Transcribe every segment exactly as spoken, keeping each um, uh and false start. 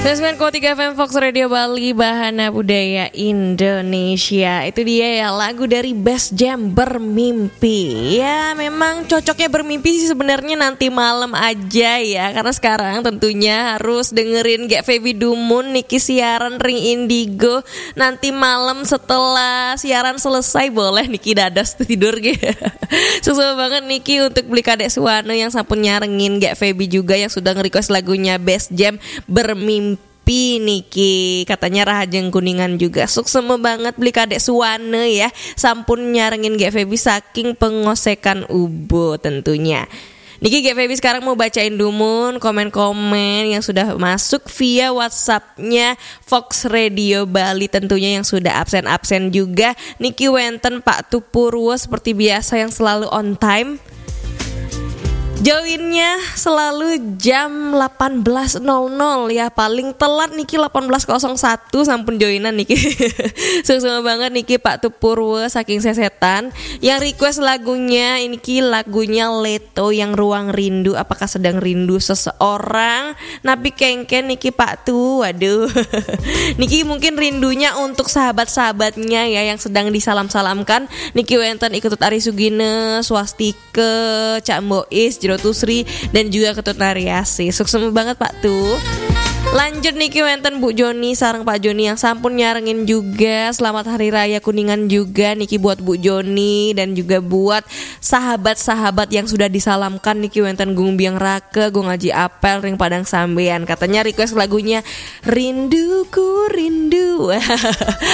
Sembilan koma tiga F M Fox Radio Bali, Bahana Budaya Indonesia. Itu dia ya, lagu dari Best Jam, Bermimpi. Ya, memang cocoknya bermimpi sih sebenarnya nanti malam aja ya, karena sekarang tentunya harus dengerin Gek Feby dumun niki siaran ring Indigo. Nanti malam setelah siaran selesai, boleh niki dados tidur gitu. Sukses banget niki untuk Beli Kadek Suwana yang sampun nyarengin Gek Feby juga, yang sudah nge-request lagunya Best Jam, Bermimpi niki. Katanya Rahajeng Kuningan juga. Sukses banget Beli Kadek Suwana ya, sampun nyarengin Gek Feby saking Pengosekan Ubud tentunya. Niki Gek Feby sekarang mau bacain dumun komen-komen yang sudah masuk via WhatsApp-nya Fox Radio Bali, tentunya yang sudah absen-absen juga. Niki wenten Pak Tupurwo seperti biasa yang selalu on time. Joinnya selalu jam delapan belas nol nol ya, paling telat niki delapan belas kosong satu sampun joinan niki. Sukses banget niki Pak Tupurwo saking Sesetan. Yang request lagunya ini ki lagunya Leto yang Ruang Rindu. Apakah sedang rindu seseorang? Napi kengken niki Pak Tu. Waduh. Niki mungkin rindunya untuk sahabat-sahabatnya ya yang sedang disalam-salamkan. Niki wenten Iketut Ari Sugine, Swastika, Cak Mbois, Jero Tusri, dan juga Ketut Nariasi. Sukses banget Pak Tu. Lanjut niki wenten Bu Joni sareng Pak Joni yang sampun nyarengin juga. Selamat Hari Raya Kuningan juga niki buat Bu Joni dan juga buat sahabat-sahabat yang sudah disalamkan niki wenten Gung Biang Rake, Gung Aji Apel, ring Padang Sambean. Katanya request lagunya Rinduku Rindu.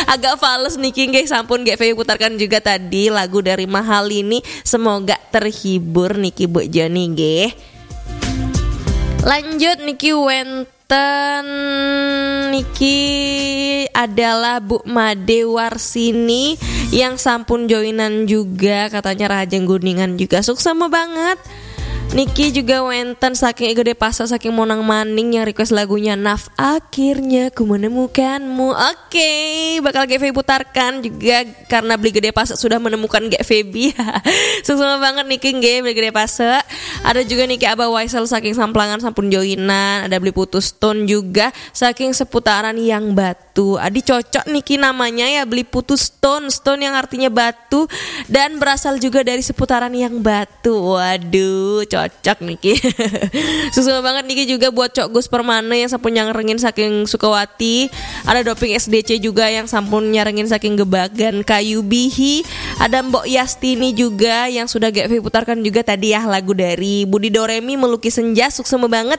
Agak fales niki nggih, sampun Gek Feby putarkan juga tadi lagu dari Mahalini. Semoga terhibur niki Bu Joni nggih. Lanjut niki wenten niki adalah Bu Made Warsini yang sampun joinan juga, katanya Rahajeng Kuningan juga. Sukses banget. Niki juga wenten saking Gede Pasek saking Monang Maning yang request lagunya Naf Akhirnya Ku Menemukanmu. Oke, bakal Gek Feby putarkan juga karena Beli Gede Pasek sudah menemukan Gek Feby. Sukses banget niki nggih Beli Gede Pasek. Ada juga niki Abah Waisel saking Samplangan sampun joinan, ada Beli Putus Stone juga saking seputaran Yang Batu. Adi cocok niki namanya ya, Beli Putus Stone, stone yang artinya batu dan berasal juga dari seputaran Yang Batu. Waduh, cocok niki. Sukses banget niki juga buat Cok Gus Permane yang sampun nyarengin saking Sukawati. Ada Doping S D C juga yang sampun nyarengin saking Gebagan Kayu Bihi. Ada Mbok Yastini juga yang sudah Gek Feby putarkan juga tadi ya, lagu dari Budi Doremi, Melukis Senja. Sukses banget.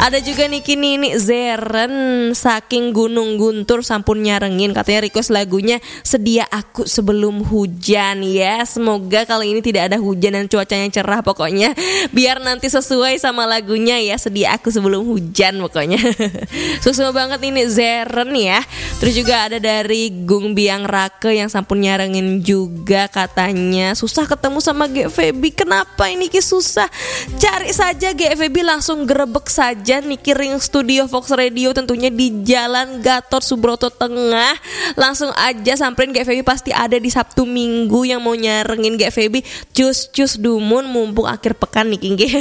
Ada juga niki Nini Zeren saking Gunung Guntur sampun nyarengin, katanya request lagunya Sedia Aku Sebelum Hujan ya. Semoga kali ini tidak ada hujan dan cuacanya cerah pokoknya. Biar nanti sesuai sama lagunya ya, Sedia Aku Sebelum Hujan pokoknya. Sukses banget ini Zeren ya. Terus juga ada dari Gung Biang Rake yang sampun nyarengin juga, katanya susah ketemu sama Gek Feby. Kenapa ini ki susah? Cari saja Gek Feby, langsung grebek saja niki ring studio Fox Radio, tentunya di Jalan Gatot Subroto Tengah. Langsung aja samperin Gek Feby, pasti ada di Sabtu Minggu yang mau nyarengin Gek Feby. Cus-cus dumun mumpung akhir pekan niki nggih.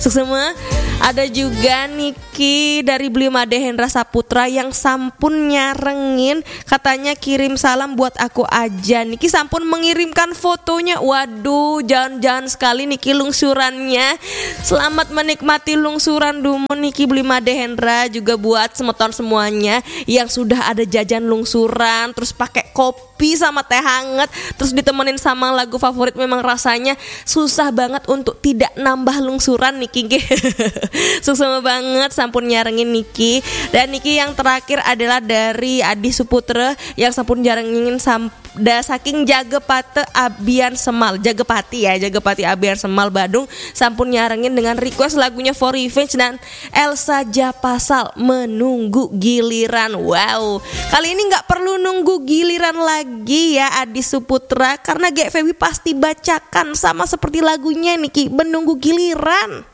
Sukses semua. Ada juga niki dari Beli Made Hendra Saputra yang sampun nyarengin, katanya kirim salam buat aku aja. Niki sampun mengirimkan fotonya. Waduh, jangan-jangan sekali niki lungsurannya. Selamat menikmati lungsuran dumun niki Beli Made Hendra, juga buat semeton semuanya yang sudah ada jajan lungsuran terus pakai kopi sama teh hangat, terus ditemenin sama lagu favorit, memang rasanya susah banget untuk tidak nambah lungsuran niki nggih. Sukses banget sampun nyarengin niki. Dan niki yang terakhir adalah dari Adi Suputra yang sampun nyarengin sam- da saking Jagepate Abian Semal, Jagepati ya, Jagepati Abian Semal Badung sampun nyarengin dengan request lagunya For Revenge dan Elsa Japasal, Menunggu Giliran. Wow, kali ini nggak perlu nunggu giliran lagi ya Adi Suputra, karena Gek Feby pasti bacakan sama seperti lagunya niki, Menunggu Giliran.